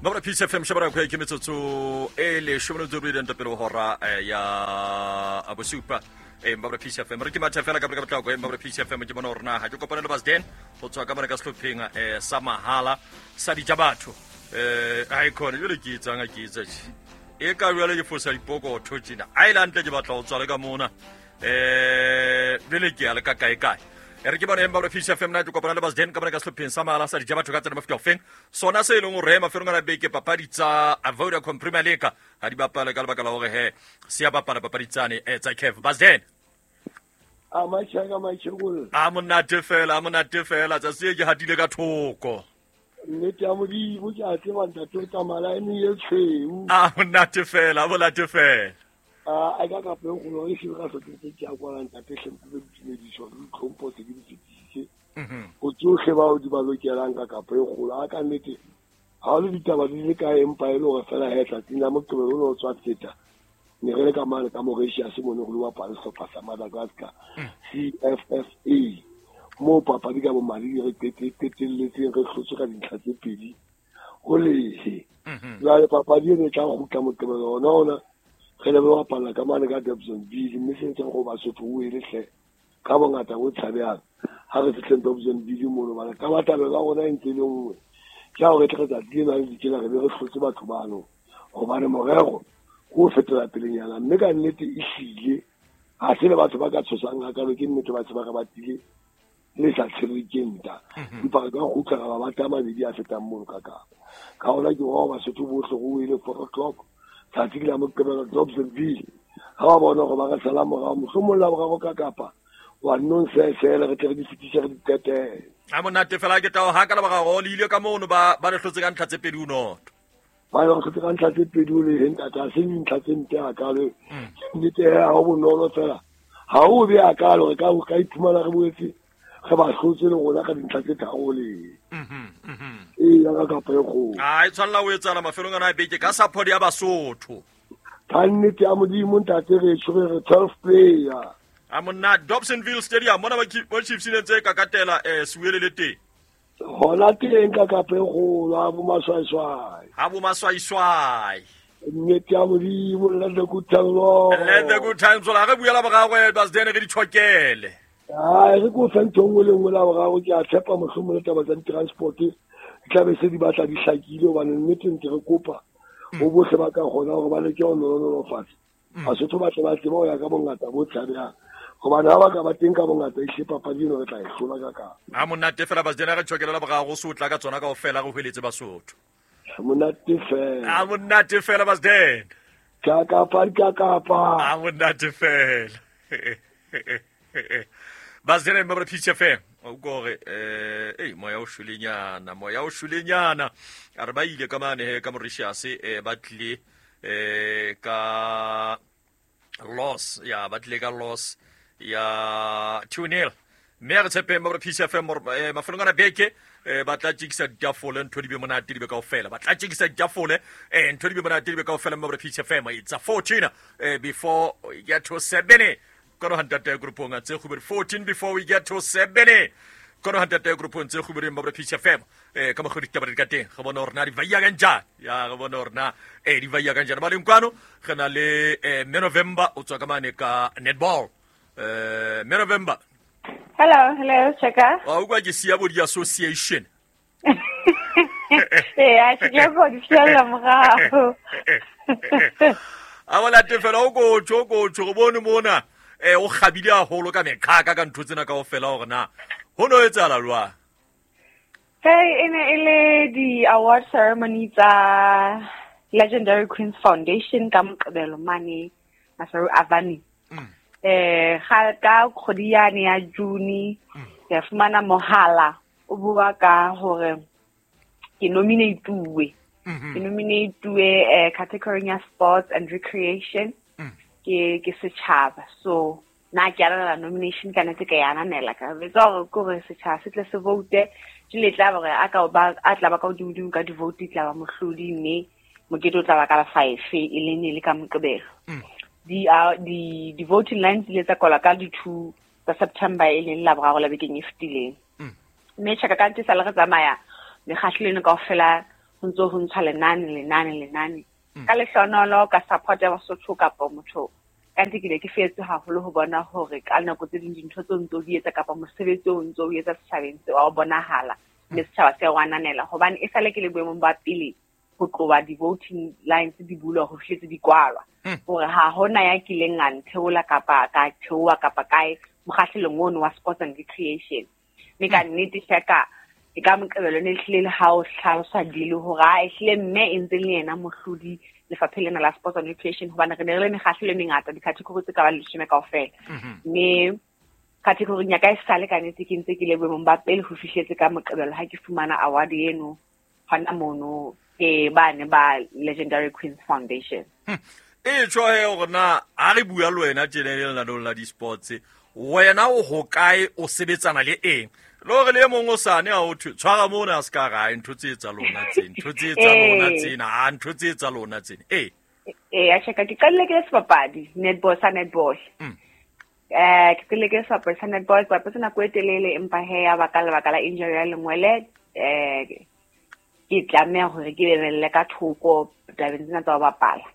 Mabra Peace FM shebana go ke metsotso e le shomelo tse bobedi nto pele ho hora ya bosupa. Mabra Peace FM re ke matha fela ka pele ka potlako. Mabra Peace FM ke bona hore na ha ke kopane le Basden go tswa ka mona ka sehlopheng sa mahala sa dija batho. Ha e khone jwale ke etsang ha ke etsa tje. E ka jwale ke fosa dipokotho tjena. Ha e le hantle ke batla ho tswa le ka mona. Jwale ke ya le ka kae kae. E re ke bone Mabra Peace FM na ke kopana le Basden ka mona ka sehlopheng sa mahala sa dija batho ka tsena mafuta ofeng. Sona se e leng hore mafelong a beke papadi tsa Vodacom Premier League ha di bapale ka lebaka la hore he se ya bapala papadi tsane tsa CAF. Basden. A machaka machekolo. A monate fela, a monate fela tsatsi e ke hatile ka thoko. Nnete ya Modimo ke a tseba ntate o tsamaya line e tshweu. A monate fela, a monate fela. A ka ka pele go e se ka sotse ke a kwala ntate hle mpe ditumediso le ditlhompho tse ke di fetisitse. Go tsohle bao di ba lokelang ka kapo e kgolo. A ka nnete ha o le ditaba di le kae empa e le hore fela he tsatsing la Moqebelo o ne o tswa feta. Ne re le ka mane ka Mauritius mo ne go le bapala sehlopha sa Madagascar CFFA moo papadi ka bomadi re qetelletseng re hlotswe ka dintlha tse pedi ho lehe. Jwale papadi eno e tla kgutla Moqebelo ona ona re le bapala ka mane ka Dobsonville mme se ntseng go Basotho o ele hle ka bongata bo tshabehang ha re fihleng Dobsonville mono bana tabatabelo ya rona e ntse e le nngwe ke ha hore tle re tsatsi lena le tjena re be re hlotse batho bano hobane morero ke ho fetola pelenyana mme ka nnete e hlile ha se le batho ba ka tshosang hakalo ke nnete ba se ba re batile le sa tshwerwe ke nta empa re ka kgutla ra ba batla mabedi a fetang mono ka kapa ka hona ke wa Basotho bohle go ile 4 o'clock tsatsi ke la Moqebelo Dobsonville ha ba bona hore ba re sala morao mohlomong la boraro ka kapa wa nno nsesele re tle re di fetise re di qetele. A monate fela ke tao ha ka la boraro le ile ka mono ba ba re hlotse ka ntlha tse pedi o noto. Ba re hlotse ka ntlha tse pedi o le ntate ha se dintlha tse mpe hakalo. Ke nnete ha ho bonolo fela. Ha o be hakalo re ka iphumana re boetse re ba hlotse le rona ka dintlha tse tharo le. Ee, ya ka kapa e kgolo. A e tshwanela ho etsahala mafelong ana a beke ka support ya Basotho. Ka nnete ya Modimo ntate re tshwere re 12 player. A monna Dobsonville Stadium mona ba Chiefs ne ntse ka katela Siwele le teng. Hona teng ka kapa e kgolo ha bo maswaiswai. Ha bo maswaiswai. Nnete ya Modimo let the good times roll. Let the good times roll. Ha re buela boraro Basden re di tshokele. Ai re ko fa ntho nngwe le nngwe la boraro ke a tshepa mohlomong le taba tsa di-transport di tla be se di batla di hlakile hobane nnete ntse re kopa ho bohle ba ka kgona hore ba leke ho nolofatsa. Basotho ba tle ba tsebe ho ya ka bongata bo tshabehang hobane ha ba ka ba teng ka bongata ehlile papadi eno re tla e hlola ka kapa. Ha monate fela Basden re tshokele la boraro so tla ka tsona kaofela re hweletse Basotho. Monate fela. Ha monate fela Basden. Ka kapa ka kapa. Ha monate fela. Basden ba re Peace FM. O gore moya o shwelenyana, moya o shwelenyana. A re ba ile ka mane he ka Mauritius ba tlile ka loss ya ba tlile ka loss ya 2-0. Mme re tshepeng ba re Peace FM mafelong ana beke ba tla tjekisa ditafole ntho di be monate di be kaofela. Ba tla tjekisa ditafole ntho di be monate di be kaofela mme ba re Peace FM it's a 14 before we get to 7. Kono hantate groupong tse kgubedi 14 before we get to 7. Kono hantate groupong tse kgubedi ba re Peace FM ka mokgwa ditaba di ka teng re bona hore na di vaya kanjani. Ya re bona hore na di vaya kanjani. Ba leng kwano re na le Mme November o tswa ka mane ka netball. Mme November. Hello, hello, Cheka. Wa utlwa ke siya bo di-association. Ee, a ke ke go di siela morao. A bona tefela o kotjho, o kotjho, re bone mona. O kgabile haholo ka meqhaka ka ntho tsena kaofela hore na ho no etsahala jwang? Hey, e ne e le di-award ceremony tsa Legendary Queens Foundation ka Moqebelo mane Maseru Avenue. Ga ka kgwedi yane ya June ke fumana mohala o bua ka hore ke nominate-uwe. Ke nominate-uwe category ya sports and recreation. Ke setjhaba. So na ke arabela nomination ka nete ke ya ananela ka betsa hore ke hore setjhaba se tle se vote le tla hore a ka ba a tla ba ka hodimo ka di-vote tla ba mohlodi mme mokete o tla ba ka la 5 e le ne le ka Moqebelo. Di voting lines di ile tsa kwalwa ka di 2 tsa September e leng la boraro la bekeng e fetileng. Mme tjhaka ka ntse sa le re tsamaya mekgahlelo eno kaofela Ho ntso ho ntshwa lenane lenane lenane. Ka lehlonolo ka support ya Basotho kapa motho ka nnete ke ne ke fetse haholo ho bona hore ka nako tse ding dintho tseo ntso di etsa kapa mosebetsi o ntso o etsa setjhabeng se wa bonahala mme setjhaba se o ananela hobane e sale ke le boemong ba pele ho tloha di-voting lines di bulwa ho fihletse di kwalwa hore ha hona ya kileng a ntheola kapa ka theoha kapa kae mokgahlelong ono wa sports and recreation. Mme ka nnete shaka e ka Moqebelo ne ehlile le ha o hlalosa dile hore a ehlile mme e ntse le yena mohlodi lefapheng lena la sports and recreation hobane re ne re le mekgahlelo e mengata di-category tse ka bang 10 kaofela. Mme category ya ka e sale ka nnete ke ntse ke le boemong ba pele ho fihletse ka Moqebelo ha ke fumana award eno hona mono ke bane ba Legendary Queens Foundation. E tjho he hore na ha re bua le wena tjena le lenanong la di-sports, wena o hokae, o sebetsana le eng? Le hore le e mong o sane ha o thwe tshwara mona a se ka ra ntho tse tsa lona tse, ntho tse tsa lona tsena, ha ntho tse tsa lona tsena. Ee. Ee, a tjheka ke qadile ke le sebapadi netball sa netball. Ke qadile ke le sebapadi sa netball, ke bapetse nako e telele empa he ya baka lebaka la injury ya lengwele, ke tlameha hore ke bebelle ka thoko tabeng tsena tsa ho bapala.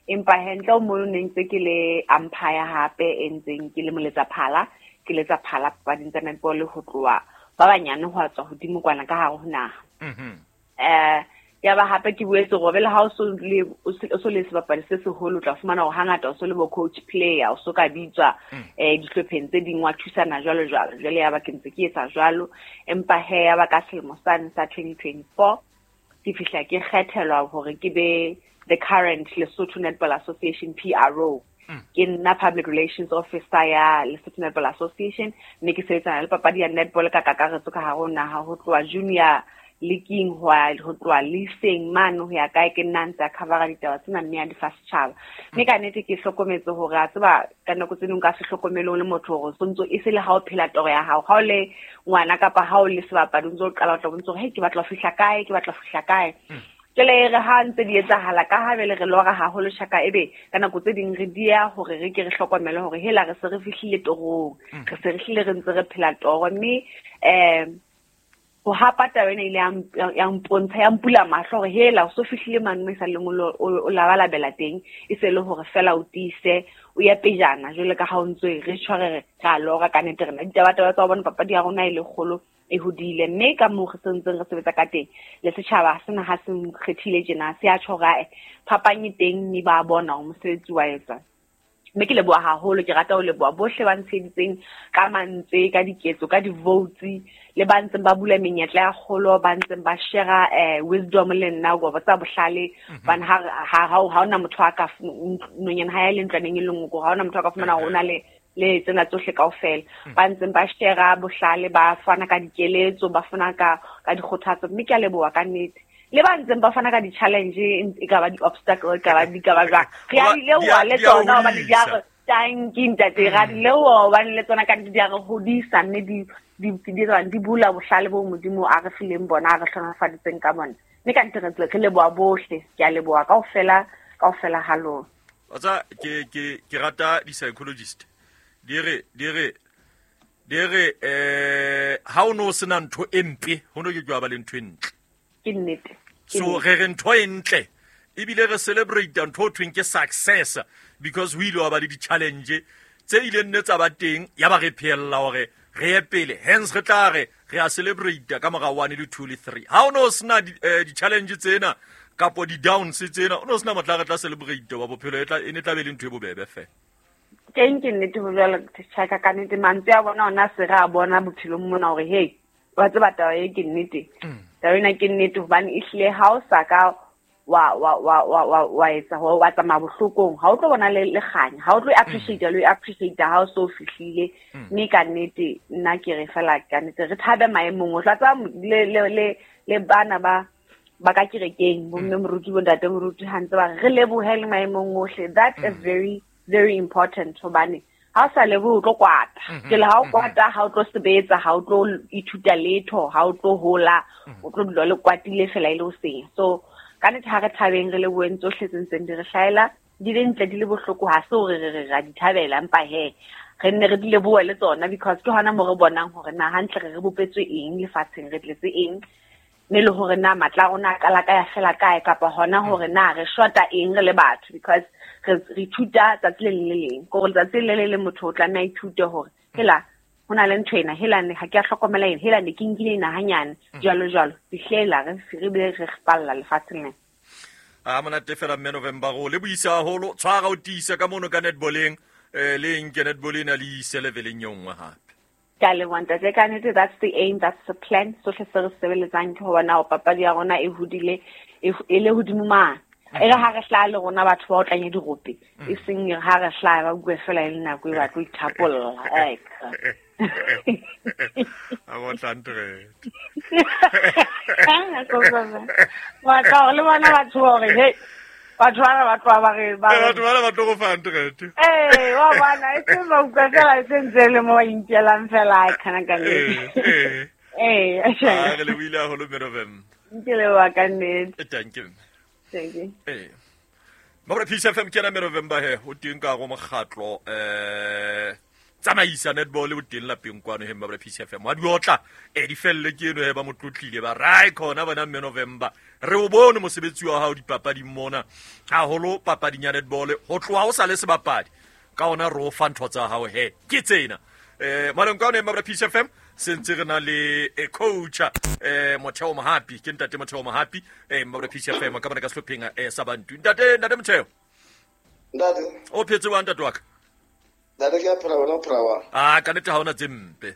Empa he ntle ho mono ne ntse ke le umpire hape e ntseng ke le moletsa phala, ke letsa phala papading tsa netball ho tloha ba banyane ho tswa hodimo kwana ka hare ho naha. Ya ba hape ke boetse hore le ha o so le o so le sebapadi se seholo o tla fumana hore hangata o so le bo coach player o so ka bitswa dihlopheng tse ding wa thusana jwalo jwalo. Jwale ya ba ke ntse ke etsa jwalo empa he ya ba ka selemo sane sa 2024 ke fihla ke kgethelwa hore ke be the current Lesotho Netball Association PRO. Ke nna public relations officer ya Lesotho Netball Association mme ke sebetsana le papadi ya netball ka kakaretso ka hare ho naha ho tloha junior leaking ho tloha leasing mane ho ya kae ke nna ntse a covera ditaba tsena mme a di fa setjhaba. Mme ka nnete ke hlokometse hore a tseba ka nako tse ding ka se hlokomele o le motho hore o ntso e se le ha o phela toro ya hao, ha o le ngwana kapa ha o le sebapadi o ntso o qala o tla bontse hore hei ke batla ho fihla kae, ke batla ho fihla kae. Jwale e re ha ntse di etsahala ka ha jwale re lora haholo tjhaka ebe ka nako tse ding re dieha hore re ke re hlokomele hore hela re se re fihlile torong, re se re hlile re ntse re phela toro. Mme ho hapa taba ena ile ya mpontsha, ya mpula mahlo hore hela o so fihlile mane mo e sa leng o labalabela teng, e se le hore fela o tiise o ye pejana jwale ka ha o ntso re tjho re re a lora ka nnete rena ditabataba tsa ho bona papadi ya rona e le kgolo e hodile. Mme ka moo re sentseng re sebetsa ka teng le setjhaba sena ha se nkgethile tjena se a tjho hore phapang e teng mme ba bona hore mosebetsi wa etswa. Mme ke leboha haholo, ke rata ho leboha bohle ba ntsheheditseng ka mantswe, ka diketso, ka di-votes, le ba ntseng ba bula menyetla ya kgolo, ba ntseng ba share wisdom le nna go ba tsa bohlale. Hobane ha hona motho a ka nonyana ha ya le ntlwaneng e le nngwe, ha hona motho a ka fumana hore o na le le tsena tsohle kaofela. Ba ntseng ba share bohlale, ba fana ka dikeletso, ba fana ka dikgothatso, mme ke a leboha ka nnete. Le ba ntseng ba fana ka di-challenge, e ka ba di-obstacle, e ka ba di ka ba jwang. Re a di leboha le tsona hobane di a re thank you ntate, re a di leboha hobane le tsona ka nnete di a re hodisa mme di bula bohlale bo Modimo a re fileng bona, a re hlohonolofaditseng ka bona. Mme ka nnete re leboha bohle, ke a leboha kaofela, kaofela ha lona. Wa tseba, ke rata di-psychologist. Di re ha o no sena ntho e mpe, ho no ke ke wa ba le ntho e ntle. Ke nnete. So re re ntho e ntle ebile re celebrate ntho o thweng ke success because ho ile wa ba le di-challenge tse ileng nne tsa ba teng, ya ba re phehella hore re ye pele, hence re tla re re a celebrate ka mora 1 le 2 le 3. Ha o no sena di-challenge tsena kapo di-downs tsena, o no sena motla re tla celebrate wa bophelo, e ne tla be le ntho e bobebe fela. Teng ke nnete ho jwalo, tjhaka ka nnete mantswe a bona ona se re a bona bophelong mona hore hey wa tseba taba e ke nnete. Taba ena ke nnete hobane ehlile ha o sa ka wa etsa wa tsamaya bohlokong, ha o tlo bona le kganya, ha o tlo appreciate le appreciate ha o so fihlile. Mme ka nnete nna ke re fela ka nnete re thabe maemong, o tla tseba le bana ba ka kerekeng, bo mme moruti, bo ntate moruti, ha ntse ba re lebohe le maemong ohle. That is very very important hobane ha o sa lebohe o tlo kwata. Jwale ha o kwata, ha o tlo sebetsa, ha o tlo ithuta letho, ha o tlo hola, o tlo dula le kwatile fela e le ho senya. So ka nnete ha re thabeng, re leboheng tsohle tse ntseng di re hlahela, di le ntle di le bohloko, ha se hore re ra di thabela, empa he re nne re di lebohe le tsona because ke hona mo re bonang hore na hantle re bopetswe eng lefatsheng, re tletse eng. Mme le hore na matla a rona a qala kae a fela kae kapa hona hore na re shota eng re le batho because re ithuta tsatsi le leng le leng. Ke hore letsatsi le le leng motho o tlameha a ithute hore hela ho na le ntho ena, hela ha ke a hlokomela ena, hela ne ke nkile ena hanyane, jwalo jwalo. Fihlela re be re falla lefatsheng lena. A monate fela mme November go le buisa haholo, tshwara o tiise ka mono ka netballeng, le nke netball ena le ise leveleng e nngwe hape. Ke a leboha ntate, ka nnete that's the aim, that's the plan. Sohle se re sebeletsang ke ho bona hore papadi ya rona e hodile, e le hodimo mane. E re ha re hlaha le rona batho ba otlanya dirope, e seng ha re hlaha ba bue fela e le nako e ba tlo ithapolla. Ai, a botla ntre. Wa tla le bona batho hore hey, batho bana ba tloha ba re ba batho bana ba tlo go fa ntre. Wa bona e se ba utlwa fela e se ntse le mo ba inkelang fela ai kana ka nnete. A re le buile haholo mme November. Ke leboha ka nnete. Thank you. Thank you. Mabra Peace FM ke ena mme November he o teng ka go mokgatlo tsamaisa netball o teng lapeng kwano he Mabra Peace FM. Wa di otla di felle ke eno he ba motlotlile ba rai khona bona mme November. Re o bone mosebetsi wa hao dipapading mona haholo papading ya netball ho tloha o sa le sebapadi ka ona re o fa ntho tsa hao he ke tsena. Maleng ka ona Mabra Peace FM se ntse re na le coach Motheo Mohapi, ke ntate Motheo Mohapi Mabra Peace FM ka bana ka sehlopheng sa Bantu. Ntate Motheo. Ntate. O phetse wa ntate wa ka? Ntate ke a phela wena o phela wa? Ah, ka nnete ha hona tse mpe.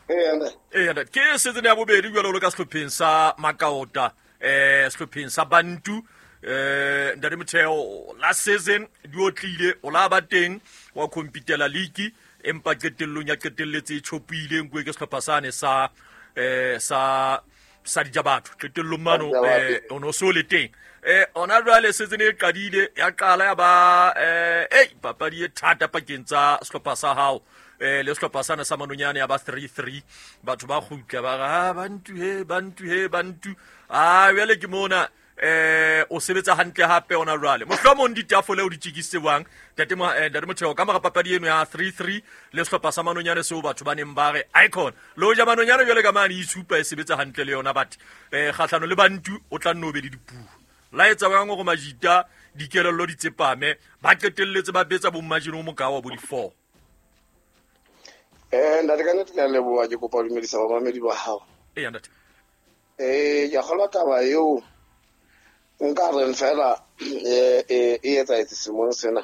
Ntate. Ke season ya bobedi jwalo le ka sehlopheng sa Makaota, sehlopheng sa Bantu. Ntate Motheo last season di otlile o la ba teng wa competela league empa qetellong ya qetelletse e tjhopile nkuwe ke sehlopha sane sa sa dijabatho qetellong mano o no so le teng. Ona jwale season e qadile ya qala ya ba papadi e thata pakeng tsa sehlopha sa hao le sehlopha sane sa Manonyane ya ba 3-3 batho ba kgutla ba re Bantu he Bantu he Bantu a jwale ke mona o sebetsa hantle hape ona jwale mohlomong ditafole o di tjekisitse jwang ntate Motheo ka mora papadi eno ya 3-3 le sehlopha sa Manonyane seo batho ba neng ba re icon le hoja Manonyane jwale ka mane itshupa e sebetsa hantle le yona but kgahlano le Bantu o tla nno be le dipuo la etsa bang hore majita dikelello di tsepame ba qetelletse ba betsa bommajino o mokao wa bo di-4. Ntate ka nnete ke a leboha, ke kopa ho dumedisa bamamedi ba hao. Ntate. Ke a kgolwa taba eo nka reng fela e etsahetse selemong sena.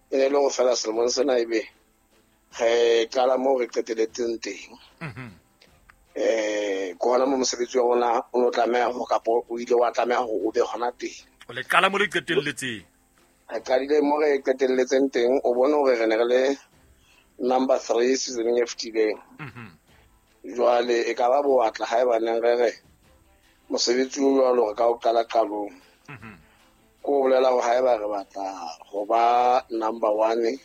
E ne le hore fela selemong sena ebe re qala moo re qeteletseng teng. Ke hona mo mosebetsi wa rona o no tlameha ho kapa o ile wa tlameha hore o be hona teng. O le qala mo le qetelletseng. Re qadile mo re qetelletseng teng, o bone hore re ne re le number 3 seasoneng e fetileng. Jwale e ka ba bowatla haeba neng re re mosebetsi o jwalo re ka o qala qalong. Ko bolela hore haeba re batla ho ba number 1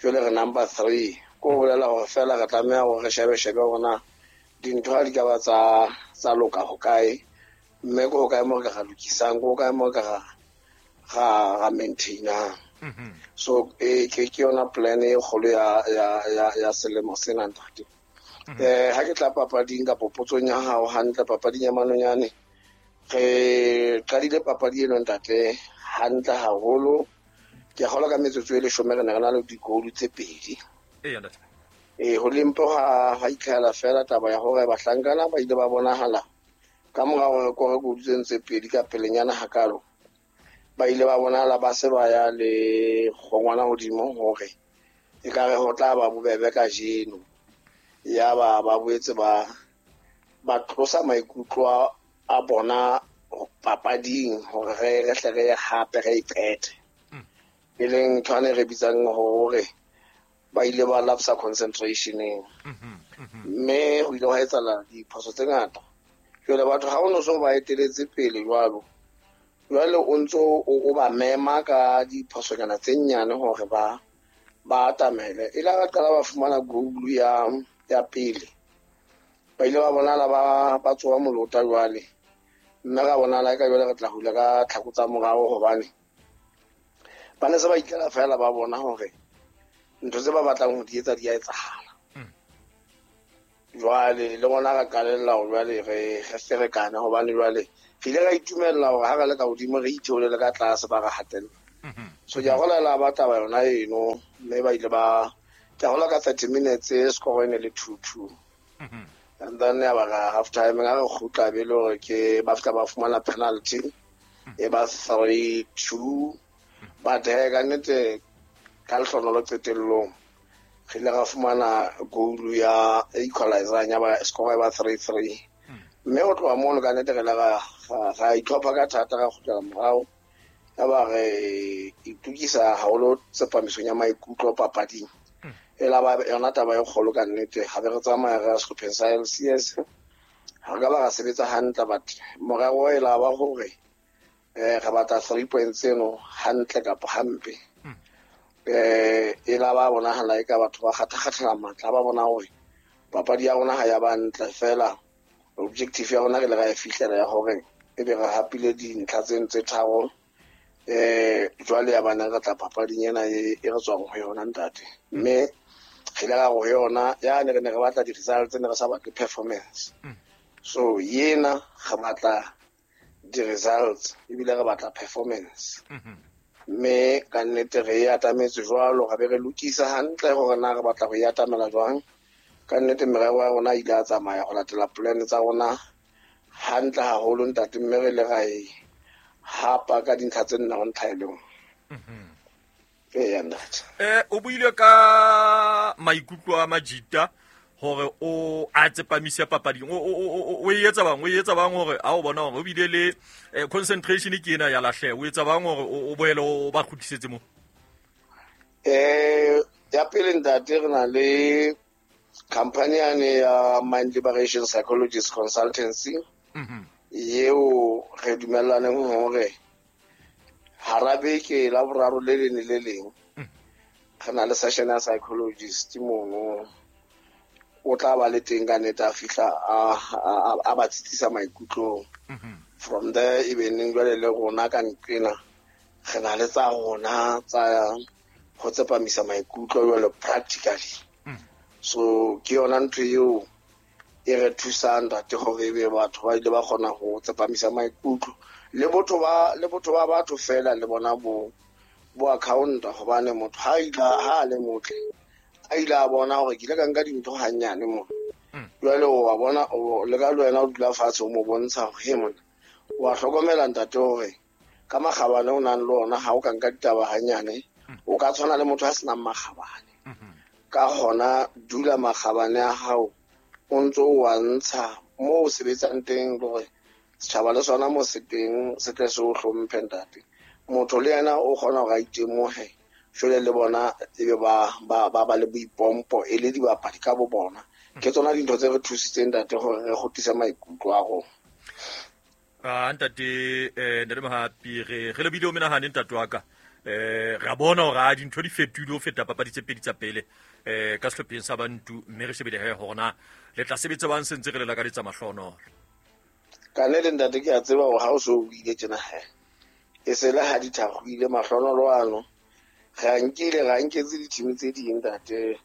jwale re number 3, ko bolela hore fela re tlameha hore re shebe hore na dintho ha di ka ba tsa loka ho kae, mme ko kae mo re ka lokisang, ko kae mo re ka ra maintainang. So ke yona plan e kgolo ya selemo sena ntate. Ha ke tla papading kapa potsong ya hao hantle papading ya Manonyane, re qadile papadi eno ntate hantle haholo. Ke kgolwa ka metsotso e 10 re ne re na le di-goal tse 2. Ntate. Ho lempo ha itlhahela fela taba ya hore bahlankana ba ile ba bonahala ka mora hore re kore goal tse 2 ka pelenyana hakalo. Ba ile ba bonahala ba se ba ya le kgongwana hodimo hore e ka re ho tla ba bobebe kajeno. Ya ba boetse ba tlosa maikutlo a bona papading hore re hle re hape re iqete. E leng ntho ane re bitsang hore ba ile ba lapsa concentrationeng. Mme ho ile hwa etsahala diphoso tse ngata. Jwale batho ha o no so ba eteletse pele jwalo, jwale o ntso o ba mema ka diphosonyana tse nyane hore ba atamele. E la ba qala ba fumana goal ya pele, ba ile ba bonala ba tsoha molota jwale, mme ra bonala ka jwale re tla hula ka tlhako tsa morao hobane ba ne se ba ikela fela ba bona hore ntho tse ba batlang ho di etsa di a etsahala. Jwale le rona ra qalella hore jwale re ferekane, hobane jwale re ile ra itumella hore ha re le ka hodimo re itheolele ka tlase ba re hatella. So ke a gola ba taba yona eno, mme ba ile ba ke a gola ka 30 minutes score e ne le 2-2. And then ya ba ra half time ga re kgutla be le hore ke ba fihla ba fumana penalty e ba 3-2. But he ka nnete ka lehlonolo qetellong re ile ra fumana goal ya equalizer ya ba score ba 3-3. Mme ho tloha mono ka nnete re ile ra itlhopha ka thata, ra kgutlela morao, ya ba re itukisa haholo tsepamisong ya maikutlo papading. E la ba yona taba e kgolo ka nnete. Ha be re tsamaya re ya sehlopheng sa LCS, ha re ka ba ra sebetsa hantle, but morero e la ba hore re batla 3 points eno hantle kapa hampe. E la ba bonahala eka batho ba kgatha-kgathela matla, ba bona hore papadi ya rona ha ya ba ntle fela. Objective ya rona re le ra e fihlela ya hore ebe re hapile dintlha tseno tse tharo. Jwale ya bana re tla papading ena e re tswang ho yona ntate. Mme re ile ra ho yona ya ne re ne re batla di-results, ne re sa batle performance. So yena re batla di-results ebile re batla performance. Mme ka nnete re e atametse jwalo, ra be re lokisa hantle hore na re batla ho e atamela jwang. Ka nnete merero ya rona ile a tsamaya ho latela plan tsa rona hantle haholo ntate, mme re ile ra e hapa ka dintlha tse nne ho ntlha e le nngwe. Eya ntate. O buile ka maikutlo a Majita hore o a tsepamise papading. O e etsa bang, o etsa bang hore a o bona hore o bile le concentration ke ena ya lahleha. O etsa bang hore o boele o ba kgutlisetse mo? Ya pele ntate, re na le company yane ya Mind Liberation Psychologist Consultancy. Eo re dumellaneng hore hara beke la boraro le leng le leng re na le session ya psychologist mono. O tla ba le teng ka nnete, a fihla a ba tsitsisa maikutlong. From there e be neng jwale le rona ka nqena re na le tsa rona tsa ho tsepamisa maikutlo jwale practically. So ke yona ntho eo e re thusang ntate hore ebe batho ba ile ba kgona ho tsepamisa maikutlo. Le botho ba batho fela le bona bo accounta, hobane motho ha ha le motle a ile a bona hore ke ile ka nka dintho hanyane mo. Jwale o wa bona le ka le wena o dula fatshe o mo bontsha hore he mona wa hlokomela ntate hore ka makgabane o nang le ona ha o ka nka ditaba hanyane o ka tshwana le motho a senang makgabane. Ka hona dula makgabane a hao o ntso o wa ntsha mo o sebetsang teng, hore setjhaba le sona mo se teng se tle se o hlomphe ntate. Motho le yena o kgona hore a itemohe jwale le bona ebe ba le boipompo e le dibapadi ka bo bona. Ke tsona dintho tse re thusitseng ntate hore re kgutlise maikutlo a rona. Ntate ntate Mohapi, re lebile o menahane ntate wa ka. Re a bona hore a dintho di fetohile ho feta papadi tse pedi tsa pele ka sehlopheng sa Bantu, mme re shebile he hore na le tla sebetsa bang se ntse re le lakaletsa mahlonolo. Ka nnete ntate ke a tseba hore ha o so o ile tjena he e se le ha dithagoile mahlonolo ano. Re a nkile, ra nketse di-team tse ding ntate.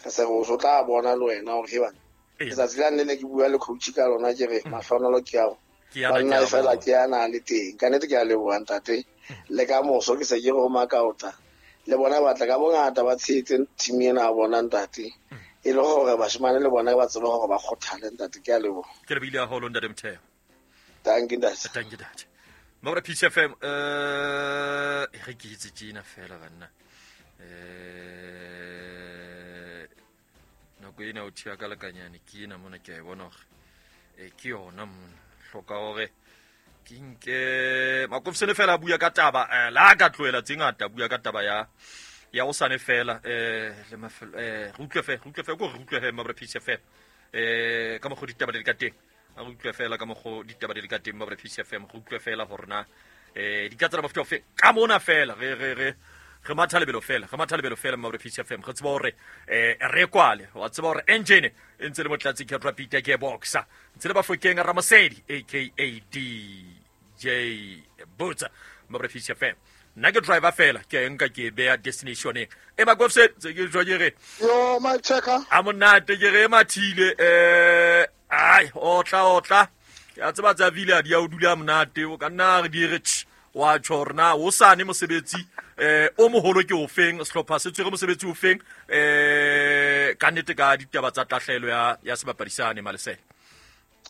Re se re o tla bona le wena hore he bana letsatsi la nne ne ke bua le coach ka lona ke re mahlonolo ke ao banna fela ke ana le teng. Ka nnete ke a leboha ntate. Le ka moso ke se ke re ho makaota le bona ba tla ka bongata ba tshehetse team ena ya bona ntate, e le hore bashemane le bona ba tsebe hore ba kgothale ntate. Ke a leboha. Ke lebile haholo ntate Motheo. Thank you ntate. Thank you ntate. Mabra Peace FM, re ke itse tjena fela banna. Nako ena o thiya ka lekanyane ke ena mona, ke a e bona hore ke yona mona. Hloka hore ke nke Makofsene fela a bua ka taba la ka tlohela tse ngata, bua ka taba ya hosane fela le mafelo re utlwe fe ko re utlwe he Mabra Peace FM ka mokgwa ditaba di le ka teng. A re utlwe fela ka mokgwa ditaba di le ka teng Mabra Peace FM, re utlwe fela hore na di ka tsela mofuta ofe ka mona fela re re matha lebelo fela, re matha lebelo fela Mabra Peace FM. Re tseba hore re kwale, wa tseba hore engine e ntse le motlatsi ke Rapid ke boxer ntse le Bafokeng Ramosedi aka DJ Botsa Mabra Peace FM. Nna ke driver fela, ke a e nka ke e beya destinationeng. E Makofse, tse ke jwa ke re. Yo, my checker. A monate ke re e mathile ai otla. Ke a tseba tsa vile a di a o dula monate, o ka nna re di re tsh wa tjho hore na o sane mosebetsi o moholo ke ofeng, sehlopha se tshwere mosebetsi ofeng ka nnete ka ditaba tsa tahlehelo ya sebapadi sane Malesela.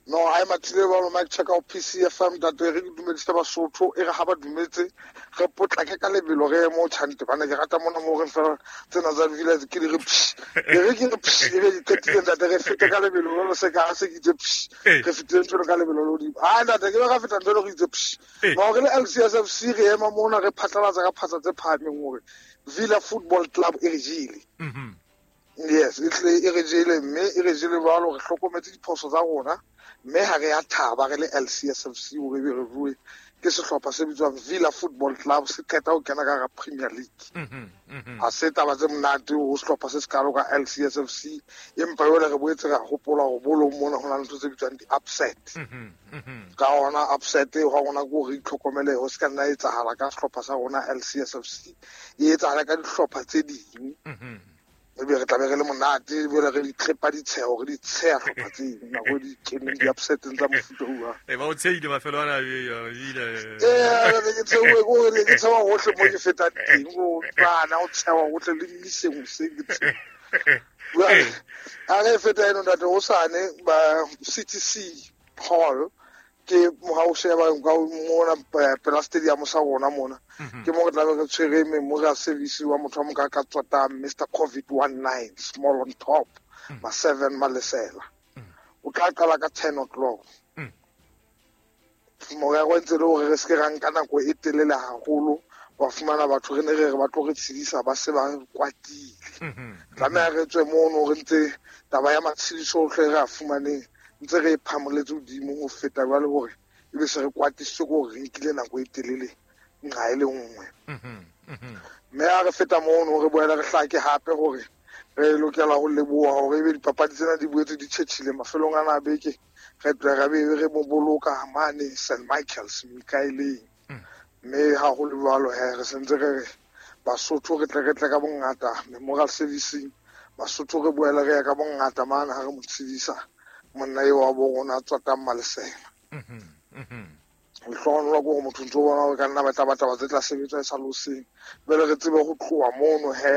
No, ha e mathile jwalo Mike Checker o PCFM ntate re dumedise Basotho e re ha ba dumetse re potlake ka lebelo re eme o tjhante bana ke rata mona mo re fela tsena tsa villa ke di re psh re ke re psh e be di qetile ntate re fete ka lebelo lo se ka se ke itse psh re fetile ntho ka lebelo lo di ha ntate ke ba ka feta ntho re itse psh no re le LCSFC re ema mona re phatlalatsa ka phatla tse phahameng hore Villa Football Club e re jele. Yes, e tle e re jele mme e re jele jwalo re hlokometse diphoso tsa rona mme ha re ya thaba re le LCSFC hore ebe re rue ke sehlopha se bitswang Villa Football Club se qeta ho kena ka hara Premier League. Ha se taba tse monate ho sehlopha se sekalo ka LCSFC empa jwale re boetse ra hopola hore bolong mona ho na le ntho tse bitswang di-upset. Ka hona upset eo ha rona ke hore re itlhokomele ho se ka nna etsahala ka sehlopha sa rona LCSFC e etsahala ka dihlopha tse ding. Ebe re tlabe re le monate ebe re di trepa ditsheho re di tsheha hlopha tse ding nako di keneng di-upseteng tsa mofuta o jwang. E ba o tshehile mafelo ana ebile. Ke tshehuwe ke hore ke tsheha hohle mo ke fetang teng, o bana o tsheha hohle le mmiseng hoseng ke tsheha. Jwale, ha re feta eno ntate hosane ba CTC Hall ke ha o sheba nka mona pela stadium sa rona mona. Ke mo re tlabe re tshwere memorial service wa motho wa moka ka tswatang Mr COVID-19 small on top ma 7 Malesela. O tla qala ka 10 o'clock. Morero ntse le hore re se ke ra nka nako e telele haholo wa fumana batho re ne re re ba tlo re tshedisa ba se ba kwatile. Tlameha re tswe mono re ntse taba ya matshediso ohle re a fumaneng ntse re phamoletse hodimo ho feta jwale hore ebe se re kwatisitswe ke hore re nkile nako e telele nqa e le nngwe. Mme ha re feta mono re boela re hlake hape hore re lokela ho leboha hore ebe dipapadi tsena di boetse di tjhetjhile mafelong ana a beke re tla re be re mo boloka mane St Michael's Mikaeleng. Mme ha ho le jwalo he re sentse re re Basotho re tle ka bongata memorial servicing Basotho re boela re ya ka bongata mane ha re mo tshedisa monna eo wa bo rona a tswatang Malesela. Lehlohonolo ke hore motho ntso bona hore ka nna ba tla batla taba tse tla sebetswa e sa le hoseng. Jwale re tsebe ho tloha mono he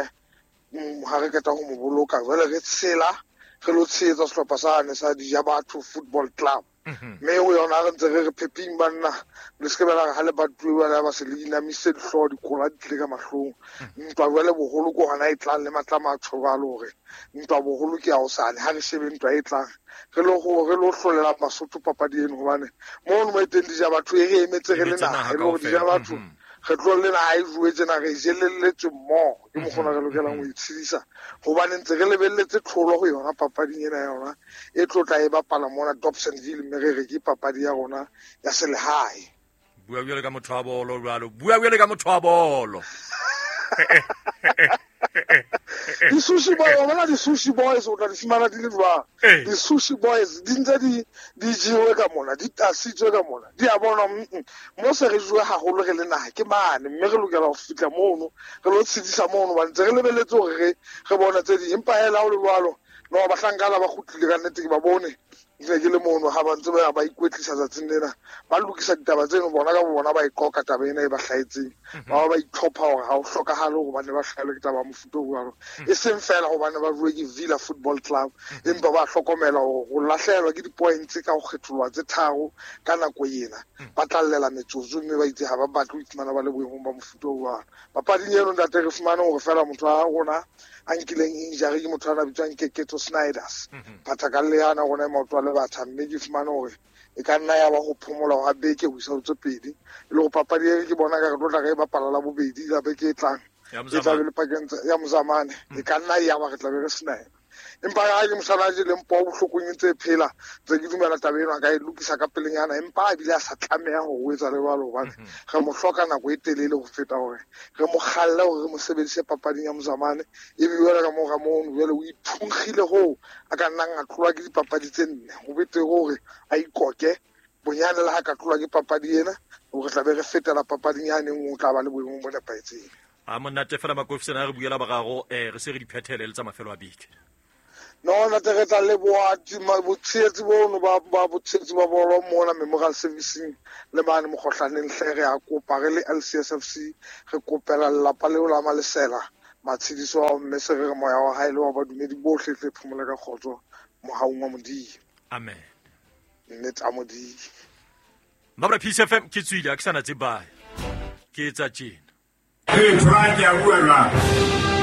ha re qeta ho mo boloka jwale re tshela re lo tshehetsa sehlopha sane sa Dijabatho Football Club. Mme ho yona re ntse re re pheping banna le se ke ba ha le batuwe jwale ba se le inamise dihlooho dikola di tlile ka mahlong. Ntwa jwale boholo ke hona e tlang le matla matsho jwalo hore ntwa boholo ke ya hosane ha re shebe ntwa e tlang re lo hlolela Basotho papadi eno hobane mono mo e teng Dijabatho e re emetse re le naha e le hore Dijabatho re tlo le naha e jowe tjena re jelelletswe mmoho ke mokgona re lokelang ho itshedisa hobane ntse re lebelletse tlholo ho yona papading ena ya yona e tlo tla e bapala mona Dobsonville mme re re ke papadi ya rona ya selehae. Bua jwalo ka motho wa bolo jwalo, bua jwalo ka motho wa bolo. Di-sushi boys, wa bona di-sushi boys o tla di fumana di le jwang? Di-sushi boys di ntse di jewe ka mona, di tasitswe ka mona. Di a bona mo se re jewe haholo re le naha ke mane mme re lokela ho fihla mono re lo tshedisa mono ba ntse re lebelletse hore re bone tse ding empa hela ho le jwalo no bahlankana ba kgutlile ka nnete ke ba bone ke ke le mono ha ba ntse ba ikwetlisa tsatsing lena ba lokisa ditaba tseno bona ka bona ba iqoka taba ena e ba hlahetseng ba itlhopha hore ha ho hlokahale hore ba ne ba hlahelwe ke taba ya mofuta o jwalo e seng fela hobane ba rue ke Villa Football Club empa ba hlokomela hore ho lahlehelwa ke di-points ka ho kgetholoha tse tharo ka nako ena ba tlallela metsotso mme ba itse ha ba batle ho iphumana ba le boemong ba mofuta o jwalo. Papading eno ntate re fumane hore fela motho wa rona a nkileng injury ke motho a bitswang Keketso Snyders phathakalle yana rona e maoto a le batha mme ke fumane hore e ka nna ya ba ho phomola hwa beke ho isa ho tse pedi e le hore papadi e ke bona ka re tlo tla re e bapala la bobedi la beke e tlang e tla be le pakeng ya Mozamane e ka nna ya ba re tla be re sena yena. Empa ha ke mosala a jeleng poo bohlokong e ntse e phela ntse ke dumela taba eno a ka e lokisa ka pelenyana empa ebile a sa tlameha hore o etsa le jwalo hobane re mo hloka nako e telele ho feta hore re mo kgalle hore re mo sebedise papading ya Mozamane ebe jwale ka mora mono jwale o iphunkgile hoo a ka nnang a tlolwa ke dipapadi tse nne ho betere hore a ikoke Bonyane le ha ka tlolwa ke papadi ena, re tla be re fetela papading yane nngwe, o tla ba le boemong bo nepahetseng. A monate fela makofisana a re buela bagago, re se re di phethele le tsa mafelo a beke. No, ntate, re tla leboha botshehetsi bono ba botshehetsi ba bolo mona Memorial Servicing le mane Mokgohlaneng. Hle re a kopa re le LCSFC, re kopela lelapa leo la Malesela matshediso ao, mme se re re moya wa hae le wa badumedi bohle tle phomole ka kgotso mohaung wa Modimo. Amen. Nnete a Modimo. Mabra Peace FM ke tswile, a ke sana tse baya. Ke etsa tjena. Ee, Thora, ke a bua jwale.